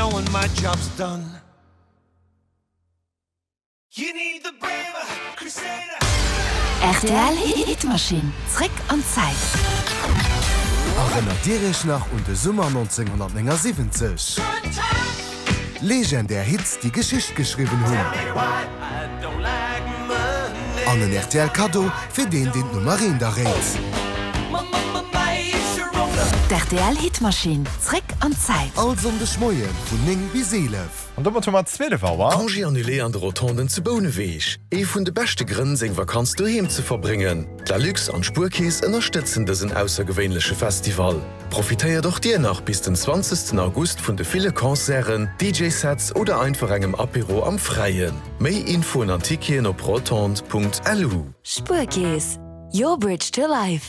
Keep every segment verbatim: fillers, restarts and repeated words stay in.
Knowing my job's done. You need the braver crusader. R T L Hitmaschinn, zréck an d'Zäit. Erënnert Dir Iech nach un de Summer nonzénghonnertnéngasiwwenzeg? Legendär Hits, déi Geschicht geschriwwen hunn. An en R T L Kaddo fir deen, deen d'Nummer eent erréit. D' R T L Hitmaschinn, zréck an d'Zäit. All Sonndeg Moie vun néng bis eelef. An domat hu mer zwielef Auer. Congé annulé an de Rotonden zu Bouneweg. Ee vun de beschte Grënn, seng Vakanz doheem ze verbréngen. D'Lalux an d'Spuerkeess ënnerstëtzen dësen aussergewéinleche Festival. Profitéiert och dir nach bis den zwanzegsten August vun de ville Concerten, D J-Sets oder einfach engem Apéro am Fräien. Méi Infoen an Ticketen op rotondes Punkt L U. Spuerkeess, your bridge to life.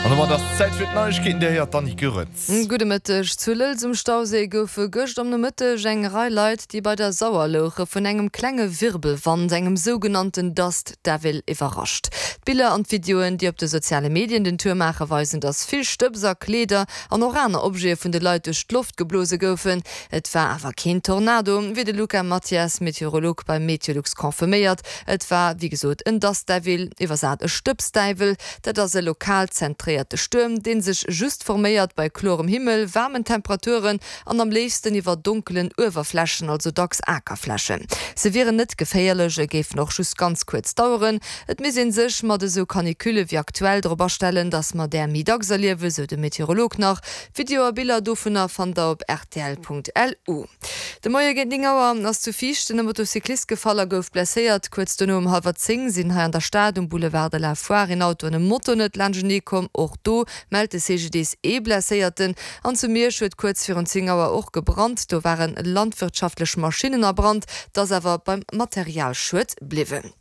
An domat ass Zäit fir d'Neiegkeeten, Dir héiert d'Annick Goerens. Gudde Mëtteg. Zu Lëlz um Stauséi goufe gëscht am Nomëtteg eng Rei Leit, déi bei der Sauer louche, vun engem klenge Wirbelwand, engem sougenannten Dust Devil, iwwerrascht. D'Biller an d'Videoen, déi op de soziale Medien den Tour maachen, weisen, dass vill Stëbs a Kleeder an och aner Objete vun de Leit duerch d'Loft geblose goufen. Et war awer keen Tornado, wéi de Luca Mathias, Meteorolog bei Meteolux, confirméiert. Et war, wéi gesot, en Dust Devil, iwwersat e Stëbsdäiwel. Dat ass e lokal zentréierte Stuerm, dee sech just forméiert bei klorem Himmel, waarmen Temperaturen an am léifsten iwwer donkelen Uewerflächen, also dacks Akerflächen. Se wieren net geféierlech a géifen och just ganz kuerz daueren. Et misst ee sech mat esou Canicule wéi aktuell drop astellen, dass mer där méi dacks erliewen, sou de Meteorolog nach. Video a Biller dovunner fannt der op R T L Punkt L U. De Moie géint néng Auer ass zu Viichten e Motocyclist gefall a gouf blesséiert. Kuerz dono um hallwer zéng sinn hei an der Stad um Boulevard de la Foire een Auto an e Moto net laanschtenee komm. Och do mellt de C G D S ee Blesséierten. An zu Miersch huet kuerz virun zéng Auer och gebrannt. Do ware landwirtschaftlech Maschinnen a Brand, et ass awer beim Materialschued bliwwen.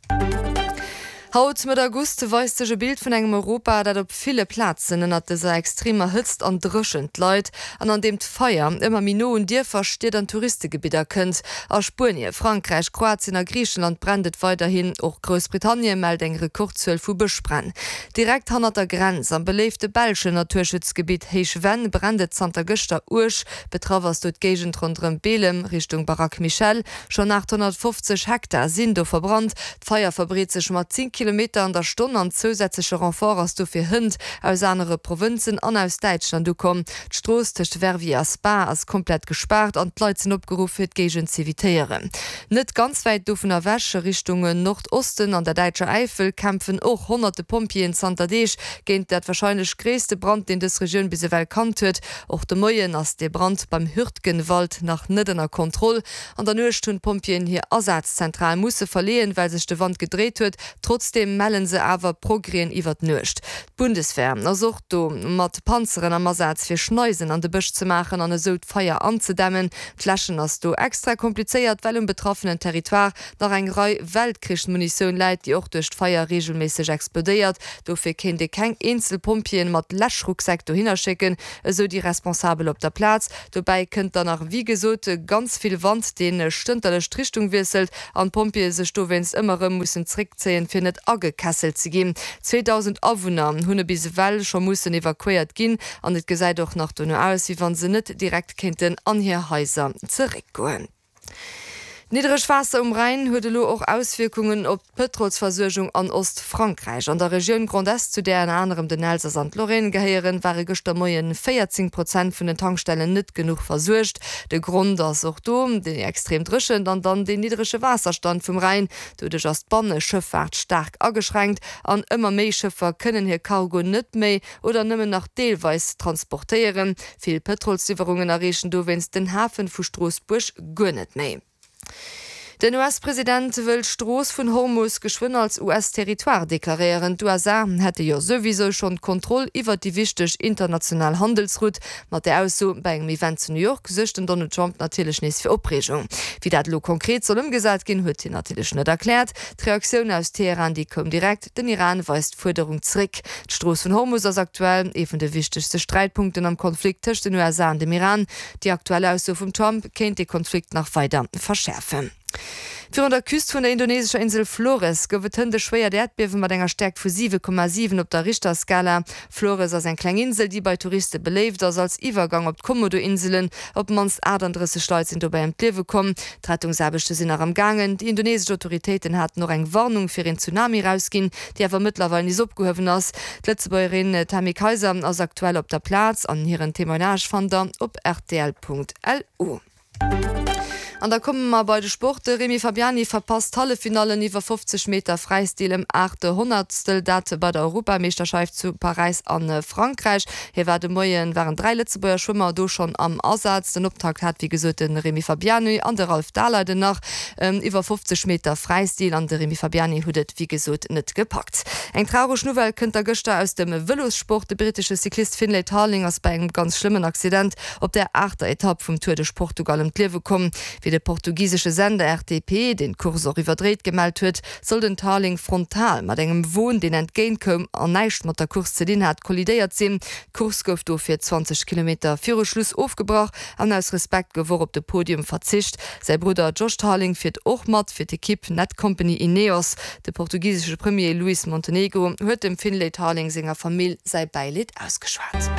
Haut, Mëtt August, weist sech e Bild vun engem Europa, dat op ville Plazen ënnert dëser extremer Hëtzt an Dréchent leit an an deem d'Feier ëmmer méi no un Dierfer, Stied an Touristegebidder kënnt. A Spuenie, Frankräich, Kroatien a Griichenland brennt et weiderhin. Och Groussbritannien mellt eng Rekordzuel vu Bëschbränn. Direkt hannert der Grenz, am beléifte belschen Naturschutzgebitt Héich Venn, brennt et zanter gëschter uerg. Betraff ass do d'Géigend ronderëm Belem, Richtung Baraque Michel. Schonn aathonnertfofzeg Hektar sinn do verbrannt. D'Feier verbreet sech mat zéng Kilometer an der Stonn an zousätzleche Renfort ass dofir hënt aus anere Provënzen an aus Däitschland ukomm. D'Strooss tëscht Verviers a Spa ass komplett gespaart an d'Leit sinn opgeruff fir d'Géigend z'evitéieren. Net ganz wäit dovun ewech, Richtung Nordosten an der däitscher Äifel, kämpfen och honnerte Pompjeeën zanter Deeg géint dat warscheinlech gréisste Brand, deen dës Regioun bis ewell kannt huet. Och de Moien ass de Brand beim Hürtgenwald nach net ënner Kontroll. An der Nuecht hunn d'Pompjeeën hir Asazzentral musse verleeën, well sech de Wand gedréit huet. Trotzdeem melle se awer Progrèsen iwwer d'Nuecht. D'Bundeswehr ass och do mat Panzeren am Asaz fir Schneisen an de Bësch ze maachen an esou d'Feier anzedämmen. D'Läschen ass do extra komplizéiert, well um betraffenen Territoire nach eng Rei Weltkrichsmunitioun läit, déi och duerch d'Feier reegelméisseg explodéiert. Dofir kéint ee keng eenzel Pompjeeën mat Läschrucksäck dohinner schécken, esou déi Responsabel op der Plaz. Dobäi kënnt dann nach wéi gesot ganz vill Wand, dee stënterlech d'Richtung wiesselt an d'Pompjeeë sech dowéinst ëmmer erëm mussen zréckzéien, fir net agekesselt ze ginn. Zweedausend Awunner hunn bis ewell scho mussen evakuéiert ginn an et gesäit och nach dono aus, wéi wa se net direkt kéinten an hir Haiser zeréckgoen. D'niddregt Waasser um Rhäin huet elo och Auswierkungen op d'Pëtrolsversuergung an Ostfrankräich. An der Regioun Grand Est, zu där ënner anerem den Elsass an d'Lorraine gehéieren, ware gëschter Moien véierzéng Prozent vun den Tankstellen net genuch versuergt. De Grond ass och do déi extrem Dréchent an dann deen niddrege Waasserstand vum Rhäin. Doduerch ass d'Banneschëffaart staark ageschränkt an ëmmer méi Schëffer kënnen hir Cargo net méi oder nëmmen nach deelweis transportéieren. Vill Pëtrolsliwwerungen erreechen dowéinst den Hafe vu Stroossbuerg guer net méi. Den U S-President wëll d'Strooss vun Hormus geschwënn als U S-Territoire deklaréieren. D'U S A hätte jo souwisou schonn d'Kontroll iwwer déi wichteg international Handelsroute. Mat där Ausso bei engem Event zu New York suergt den Donald Trump natierlech nees fir Opreegung. Wéi dat elo konkret soll ëmgesat ginn, huet hien natierlech net erkläert. D'Reaktioun aus Teheran, déi koum direkt, Den Iran weist d'Fuerderung zeréck. D'Strooss vun Hormus ass aktuell ee vun de wichtegste Sträitpunkten am Konflikt tëscht den U S A an dem Iran. Déi aktuell Ausso vum Trump kéint de Konflikt nach weider verschäerfen. Virun der Küst vun der indonesescher Insel Flores gouf et hënt e schwéiert Äerdbiewe mat enger Stäerkt vu siwe Komma siwen op der Richterskala. Flores ass eng kleng Insel, déi bei Touriste beléift ass als Iwwergang op d'Komodo-Inselen. Op d'mannst achtandrësseg Leit sinn dobäi ëm d'Liewe komm. D'Rettungsaarbechte sinn nach am gaangen. Déi indonesesch Autoritéiten haten och eng Warnung fir een Tsunami erausginn, déi awer mëttlerweil nees opgehuewen ass. D'Lëtzebuergerin Tammy Kayser ass aktuell op der Plaz an hiren Témoignage fannt der op rtl.lu. An da komme mer bei de Sport. De Rémi Fabiani verpasst d'Halleffinallen iwwer fofzeg Meter Fräistil ëm aacht Honnertstel, dat bei der Europameeschterscheift zu Paräis a Frankräich. Hie war de Moien, waren dräi Lëtzebuerger Schwëmmer do schonn am Asaz. Den Optakt hat wéi gesot de Rémi Fabiani an de Ralph Daleiden nach iwwer fofzeg Meter Fräistil an de Rémi Fabiani huet et wéi gesot net gepackt. Eng traureg Nouvelle kënnt da gëschter aus dem Vëlossport. De brittesche Cyclist Finlay Tarling ass bei engem ganz schlëmmen Accident op der aachter Etapp vum Tour de Portugal ëm d'Liewe komm. Wéi de portugisesche Sender R T P, deen d'Course och iwwerdréit, gemellt huet, soll den Tarling frontal mat engem Won, deen entgéint koum an näischt mat der Course ze dinn hat, kollidéiert sinn. D'Course gouf dofir zwanzeg Kilometer viru Schluss ofgebrach an aus Respekt gouf och op de Podium verzicht. Säi Brudder Josh Tarling fiert och mat fir d'Ekipp Netcompany Ineos. De portugisesche Premier Luís Montenegro huet dem Finlay Tarling senger Famill säi Bäileed ausgeschwat.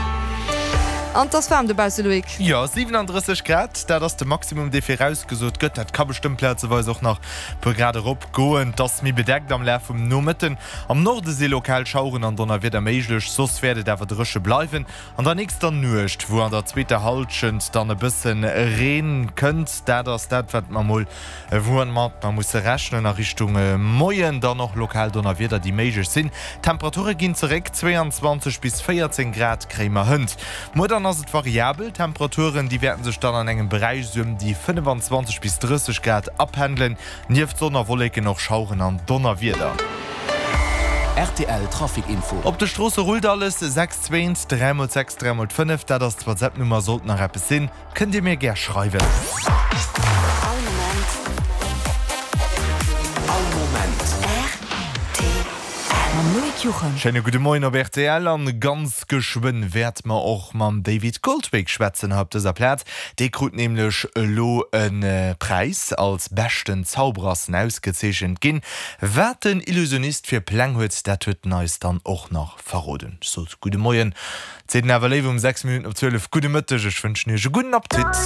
An 't ass waarm dobausse, Loïc. Jo, siwenandrësseg Grad, dat ass de Maximum, dee virausgesot gëtt. Dat ka bestëmmt plazeweis och nach e puer Grad erop goen. 't ass méi bedeckt am Laf vum Nomëtten. Am Norde si lokal Schaueren an Donnerwieder méiglech, soss wäert et awer dréche bleiwen. An der nächster Nuecht, wou an der zweeter Hallschent dann e bësse Reen kënnt, dat ass dat, wat mer mol woumat mer musse rechnen a Richtung Moien, dann och lokal Donnerwieder, déi méiglech sinn. D'Temperature ginn zeréck, zwéianzwanzeg bis véierzéng Grad kréie mer hënt. Muer dann ass et variabel, d'Temperaturen déi wäerten sech dann an engem Beräich sou ëm déi fënnefanzwanzeg bis drësseg Grad apendelen. Nieft Sonn a Wolleken och Schaueren an Donnerwieder. Rtl Trafic Info. Op de Stroosse rullt alles, sechs zwee eent dräi mol sechs dräi mol fënnef, dat ass d'WhatsApp-Nummer. Sollt nach eppes sinn, kënnt Dir mir gär schreiwen. All Moment. All Moment. R T L. Mam Loïc Juchem. Schéine gudde Moien op R T L an ganz geschwënn wäerte mer och mam David Goldwig schwätzen hei op dëser Plaz. Dee krut nämlech elo e Präis als beschten Zauberer ass en ausgezeechent ginn. Wat den Illusionist fir Pläng huet, dat huet en eis dann och nach verroden. Ech sot gudde Moien, seet en awer léiwer um sechs Minutten op zwielef gudde Mëtteg. Ech wënschen iech e gudden Appetit.